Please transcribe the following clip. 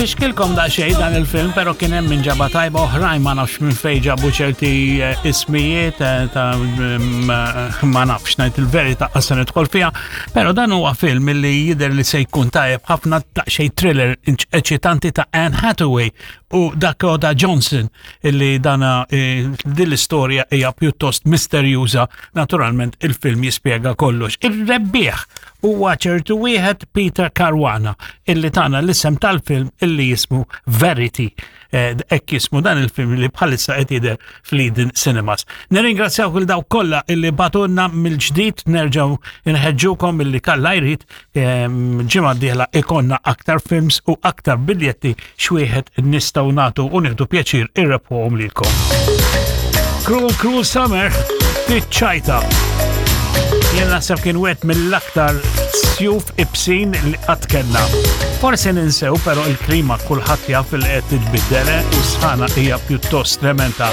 Fixkilkom daqsxejn dan il-film, pero kien hemm min ġaba tajba oħrajn ma nafx minn fejn ġabu ċerti eh, ismijiet eh, ta' mm, eh, ma nafx ngħid il-verità qas nidħol fiha, pero dan huwa film li jidher li se jkun tajjeb ħafna daqsxejn thriller eċitanti ta' Anne Hathaway u Dakota Johnson illi dana din l-istorja hija pjuttost misterjuża. Naturalment il-film jispjega kollox. Ir-rebbieħ huwa ċertu wieħed Peter Caruana illi tana l-isem tal-film illi jismu Verity. Eh, hekk jismu dan il-film li bħalissa qed jidher fl-Eden Cinemas. Nirringrazzjaw kull dawk kollha illi batunna mill-ġdid nerġgħu nħeġġukom illi kalla jrid ehm, ġimgħa d-dieħla ikonna aktar films u aktar biljetti x'wieħed nistgħu nagħtu u nieħdu pjaċir irrebħuhom lilkom. Cruel Cruel Summer tiċċajta. Jien naħseb kien wieħed mill-aktar sjuf ibsin li qatt kellna. Forsi ninsew però il-klima kulħadd jaf li qed titbiddel eh, u sħana hija pjuttost tremenda.